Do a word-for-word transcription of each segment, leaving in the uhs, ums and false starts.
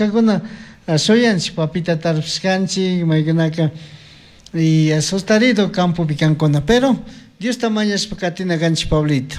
Achkakuna shuyanchik papita tarpushkanchik, maykunaka y asustarido campopi kankuna, pero Diosta mañashpa katina kanchik, Pablito.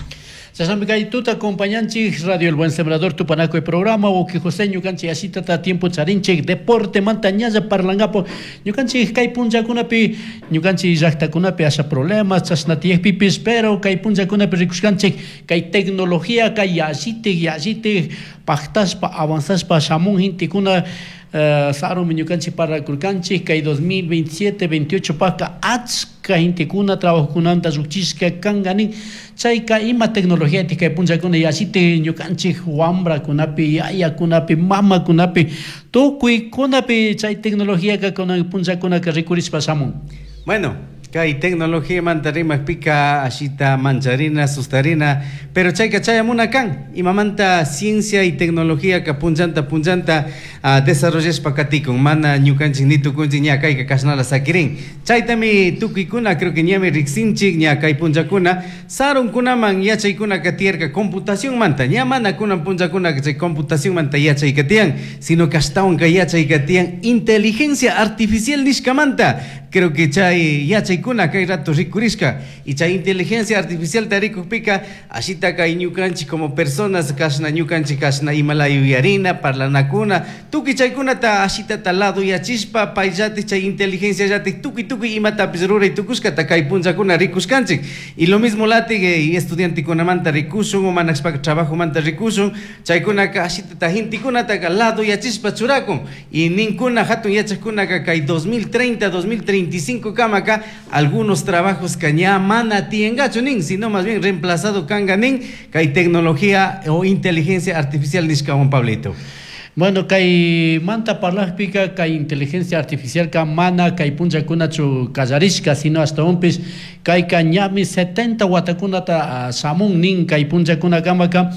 Chashnami kay tuta acompañanchik Radio El Buen Sembrador tupanakuy programa. Wawki José, ñukanchik ashitata tiempo charinchik deporte manta ñalla parlangapo. Ñukanchik kay punllakunapi, ñukanchik llaktakunapi asha problemas chashna tiyakpipis, pero kay punllakunapi rikushkanchik kay tecnología kay yallitik yallitik paktashpa avanzashpa shamun gentekuna. uh, sarumi ñukanchik parlakurkanchik kay dos mil veintisiete veintiocho paka achka gentekuna trabajokunanta llukchishka kanka nin. Chayka ima tecnología kay punllakuna yallitik ñukanchik wambrakunapi, yayakunapi, mamakunapi, tukuykunapi chay tecnología kunan punllakunaka rikurishpa shamun? Bueno, kay tecnología manta rimakpika ashita mancharina, sustarina, pero chayka chayamuna kan. Imamanta ciencia y tecnología ka punllanta punllanta uh, desarrollashpa katikun, mana ñukanchik ni tukunchik ña kayka kashnala sakirin. Chaytami tukuykuna creo que ñami riksinchik. Ña kay punllakuna sarunkunaman yachaykunaka tiyarka computación manta, ña mana kunan punllakuna chay computación manta yachayka tiyan, sino que ashtawan kay yachayka tiyan inteligencia artificial nishkamanta. Creo que chay yachaykuna kay rato rikurishka y chay inteligencia artificial tarikukpika ashita kay ñukanchik como personas kashna ñukanchik kashna imala yuyarina, parlanakuna, tukuy chaykunata ashitata lado yachishpa payllatik chay inteligencia llatik tukuy tukuy imatapish ruray tukushkata kay punllakuna rikushkanchik. Y lo mismo latik eh, estudiantekunamanta rikushun o manashpaka trabajomanta rikushun, chaykunaka ashitata gentekunataka lado yachishpa churakun. Y ninkuna hatun yachakkunaka kay dos mil treinta, dos mil treinta y cinco kamaka algunos trabajos ka ña mana tiyankachu nin, sino más bien reemplazado kanga nin kay tecnología o inteligencia artificial nishkawan, Pablito. Bueno, kay manta parlajpika kay inteligencia artificial ka mana kay punllakunachu kallarishka, sino ashtawanpish kayka ñami setenta watakunata shamun nin kay punllakunakamaka.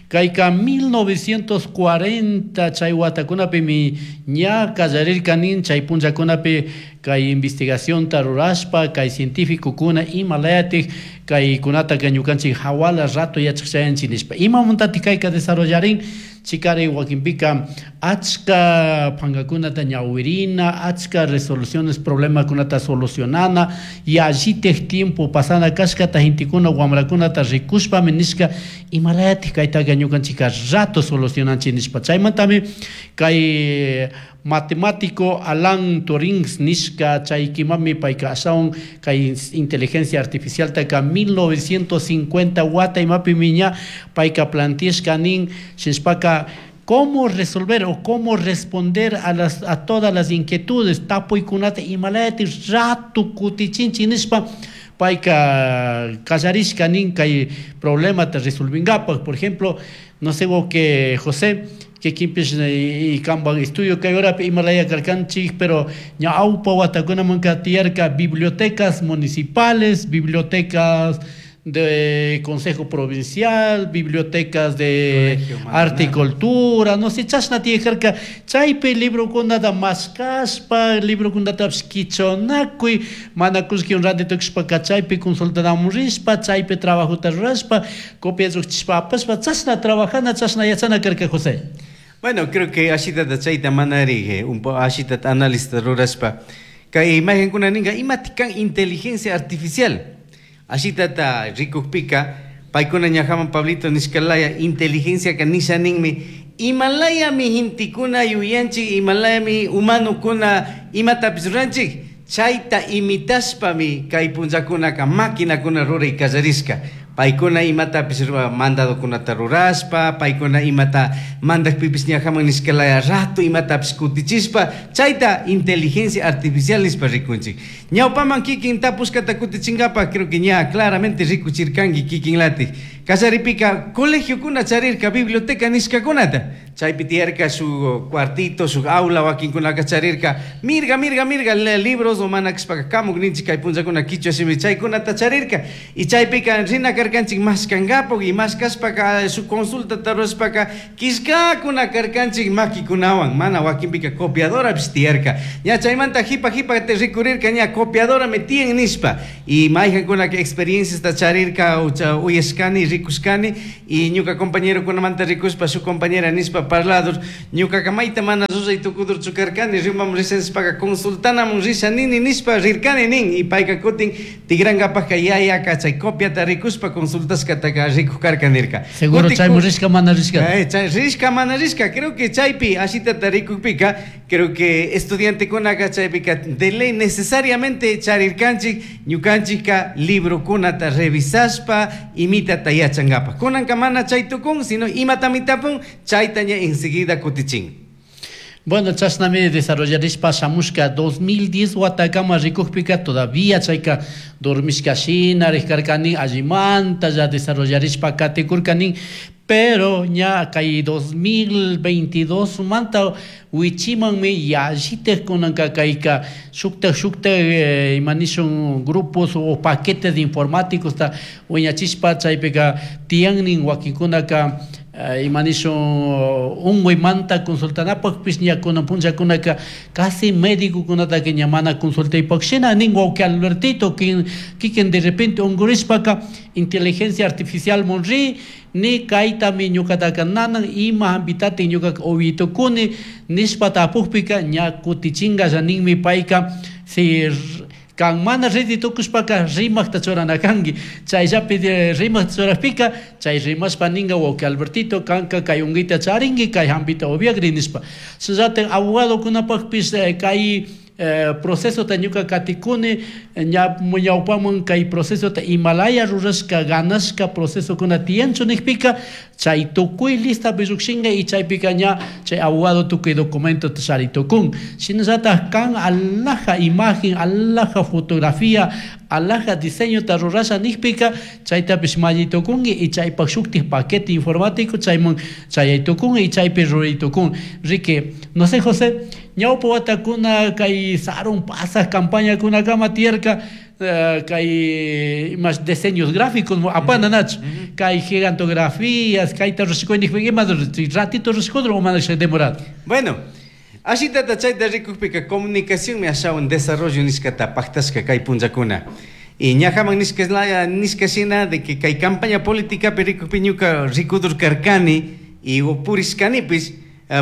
Kayka mil novecientos cuarenta chay watakunapimi ña kallarirka nin. Chay punllakunapi kay investigacionta rurashpa kay cientificokuna imalayatik kaykunataka ñukanchik hawala rato yachak chayanchik nishpa. Imamantatik kayka desarrollarin? Chikari wakinpika achka pankakunata ñawirina, achka resoluciones problemakunata solucionana, yallitik tiempo pasana kashkata gentekuna wamrakunata rikushpami nishka imalayatik kaytaka ñukanchika rato solucionanchik nishpa. Chaymantami kay matemático Alan Turing nishka chay kimami payka ashawan kay inteligencia artificial taka mil novecientos cincuenta wata imapimi ña payka planteashka nin. Shinashpaka cómo resolver o cómo responder a las a todas las inquietudes, tapuykunata imalayatik rato kutichinchik nishpa payka kallarishka nin kay problemata resolvingapak. Por ejemplo, no sé que José kikinpish y kanpak estudio kay horapi imalaya karkanchik, pero ñawpa watakunamanka tiyarka bibliotecas municipales, bibliotecas de consejo provincial, bibliotecas de arte y cultura, no sé, chashna tiyakarka. Chaypi librokunata mashkashpa, librokunatapish kichunakuy, mana kullkiwan ranti tukushpaka chaypi consultanamun rishpa, chaypi trabajota rurashpa, copia llukchishpa apashpa, chashna trabajana, chashna yachana karka, José. Bueno, creo que ashitata chayta manari un ashitata análisis rurashpa kay imagenkuna ninka imatik kan inteligencia artificial ashitata rikukpika paykuna ñajaman Pablito nishkalaya inteligencia ka nisha ninmi imalayami gentekuna yuyanchik, imalayami humanokuna imatapish ruranchik, chayta imitashpami kay punllakunaka maquinakuna ruray kallarishka. Paykuna imatapish mandadokunata rurashpa, paykuna imata mandakpipish ñajaman nishkalaya rato imatapish kutichishpa, chayta inteligencia artificial nishpa rikunchik. Ñawpaman kikin tapushkata kutichinkapak creo que ña claramente rikuchirkanki kikin latik. Kallaripika colegiokuna charirka biblioteca nishkakunata, chaypi tiyarka shuk cuartito, shuk aula, wakinkunaka charirka mirga mirga mirga libros o mana kashpaka kamuk ninchik kay punllakuna kichwa shimi chaykunata charirka. Y chaypika rina karkanchik mashkankapak y mashkashpaka shuk consultata rurashpaka killkakuna karkanchik makikunawan, mana wakinpika copiadorapish tiyarka. Ña chaymanta jipa jipa te rikurirka ña copiadorami tiyan nishpa. Y mayjankunaka experienciasta charirka uyashkani, rikushkani y ñuka compañerokunamanta rikushpa shuk compañera nishpa. nishpa parladur ñukaqa mayta mana ruray tukudurchu karkani rimamun risha nishpaka consultanamun risha nini nishpa rirkani nin y payka kutin tikrankapaka yayaka chay copiata rikushpa consultashkataka rikuj karka nirka. Seguro chaymun rishka mana rishka. Eh, chay rishka mana rishka, creo que chaypi ashitata rikukpika, creo que estudiantekunaka chaypika de ley necesariamente charirkanchik ñukanchikka librokunata revisashpa imitata yachankapak. Kunanka mana chay tukun, sino imatami tapun, chayta ña enseguida kutichin. Bueno, chashnami desarrollarishpa shamushka dos mil diez watakama rikukpika todavía chayka dormishka shina rikarkanin allimanta ya desarrollarishpa katikurkanin, pero ña kay dos mil veintidós manta wichimanmi yallitaj kunanka kayka shuktaj shuktaj eh, imanishun grupos o paquetes de informáticos ta wiñachishpa chaypika tiyannin wakinkunaka imanishun unguymanta consultanapaqpis ña kunan punllakunaka casi médicokunataka ña mana consultaypaq shina nin wawqi Albertito kikin de repente ungurishpaka inteligencia artificial munri ni kaytami ñuqataka nanan ima hampitatin ñuqaka uwitukuni nishpa tapukpika ña kutichinka ninmi payka si kan mana riti tukushpaka rimaqta churana kanki chayllapi rimaqta churajpika chay rimashpa ninka wawqi Albertito kanka kay unquyta charinki kay hampita upiakri nishpa shinallatak abogadokunapaqpis kay procesota ñuka katikuni ña ñawpaman kay procesota imalaya rurashka ganashka procesokuna tiyanchu nikpika chay tukuy listapi llukshinka y chaypika ña chay abogado tukuy documentota charitukun shinallatak kan alhaja imagen alhaja fotografía alhaja diseñota rurasha nikpika chaytapish mallitukunki y chaypak shuktik paquete informático chayman chayaytukun y chaypi ruraytukun. Rique, no sé José, ñawpa watakuna kay sarun pasaj campañakunakama tiyarka kay imash diseños gráficos apana nachu kay gigantografías kayta rurashkuynikpika ima ratito rurashkudro o mana demorado. Bueno, ashitata chayta rikukpika comunicacionmi ashawan desarrollo nishkata paktashka kay punllakuna. Y ñajaman nishka nishka shina de que kay campaña políticapi rikukpi ñuka rikudur karkani y purishkanipis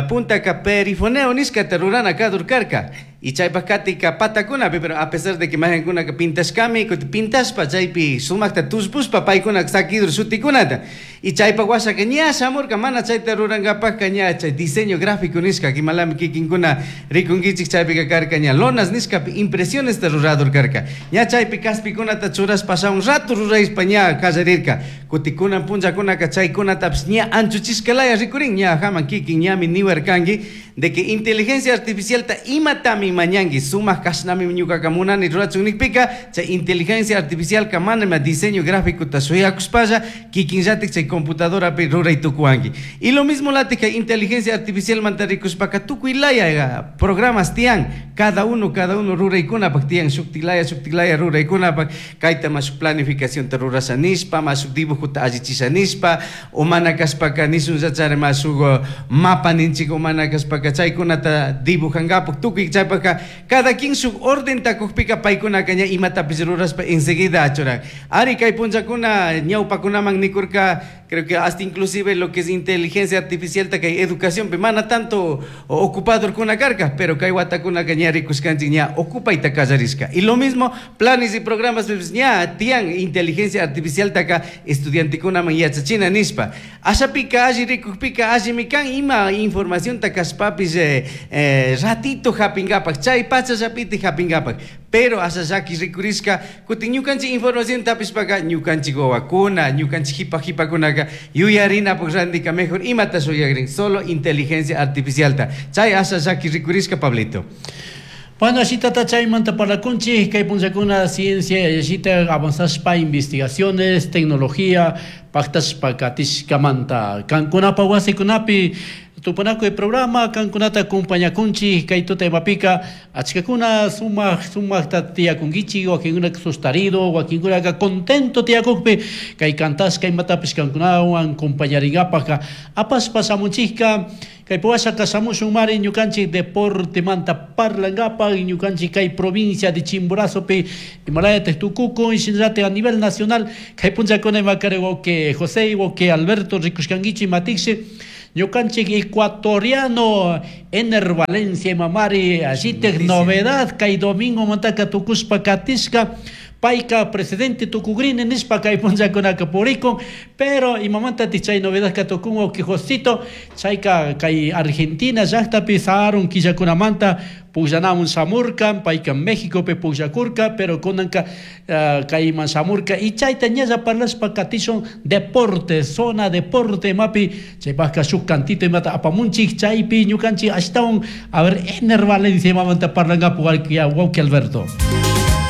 puntaka perifoneo nishkata rurana kadur karka. Y chaypak katika patakunapi, pero a pesar de que majankunaka pintashkami, pintashpa chaypi sumakta tushpushpa paykunaka sakidur shutikunata. Y chaypak washaka ña shamurka mana chayta rurankapakka ña chay diseño gráfico nishka kimalami kikinkuna rikunkichik chaypika karka ña lonas nishkapi impresionesta ruradur karka. Ña chaypi kaspikunata churashpa shamun rato rurayshpa ña kallarirka. Kutikunan punllakunaka chaykunatapish ña anchuchishkalaya rikurin ña haman kikin ñami niwarkanki de que inteligencia artificialta imatami mañanki sumak kashnami ñukaka munani rurachun nikpika chay inteligencia artificial ka manami diseño gráfico ta shuyakushpalla kikinllatik chay computadorapi ruray tukuwanki. Y lo mismo latik inteligencia artificial manta rikushpaka tukuy laya programas tiyan cada uno cada uno ruraykunapak tiyan shuktilaya shuktilaya ruraykunapak kayta ma shuk planificación ta rurasha nishpa ma shuk dibujota allichisha nishpa o mana kashpaka nishunllachari ma shuk mapa ninchik o mana kashpaka chaykunata dibujankapak tukuy chaypaka cada quien shuk orden takukpika paykunaka ña imatapish rurashpa enseguida achuran. Ari kay punllakuna ñawpakunaman nikurka creo que hasta inclusive lo que es inteligencia artificial ta kay educación pe mana tanto ocupadorkuna karka pero kay watakunaka ña rikushkanchik ña ocupayta kallarishka. Y lo mismo planes y programas pues, ña tiyan inteligencia artificial taka estudiantekunaman yachachina nishpa ashapika alli rikukpika allimi kan ima información ta kashpapis eh, eh, ratito japinkapak chay pachallapiti japinkapak pero asha llaki rikurishka kutin ñukanchik información tapishpaka ñukanchik wawakuna ñukanchik jipa jipakunaka yuyarinapak randika mejor imata shuyakrin solo inteligencia artificialta chay asha llaki rikurishka Pablito. Bueno, ashitata chaymanta parlakunchik kay punllakuna ciencia yallita avanzashpa investigaciones tecnología paktashpa katishkamanta kankunapa wasikunapi tupanakuy programa kankunata acompañakunchik kay tuta imapika achkakuna sumaq sumaqta tiyakunkichik wakinkunaka sustarido wakinkunaka contento tiyakukpi kay kantashka imatapish kankunawan acompañarinkapak apashpa shamunchikka kay puwashaka shamushun mari ñukanchik deportemanta parlankapak ñukanchik kay provincia de Chimborazopi imalayataq tukukun shinallatik a nivel nacional kay punllakuna imakari wawqi José wawqi Alberto rikushkankichik matikshi Ñukanchik ecuatoriano Ener Valencia imamari ashitik novedad kay domingo mantaka tukushpa katishka payka presidente tukugrini nishpa kay punllakunaka purikun pero imamantatik chay novedad ka tukun wawki Josito chayka kay Argentina llaktapi sarun killakunamanta pukllanamun shamurka payka Mexicopi pukllakurka pero kunanka uh, kayman shamurka y chayta ñalla parlashpa katishun deporte zona deporte imapi chaypaka shuk cantito imata apamunchik chaypi ñukanchik ashtawan a ver Ener Valencia imamanta parlankapu wawki Alberto.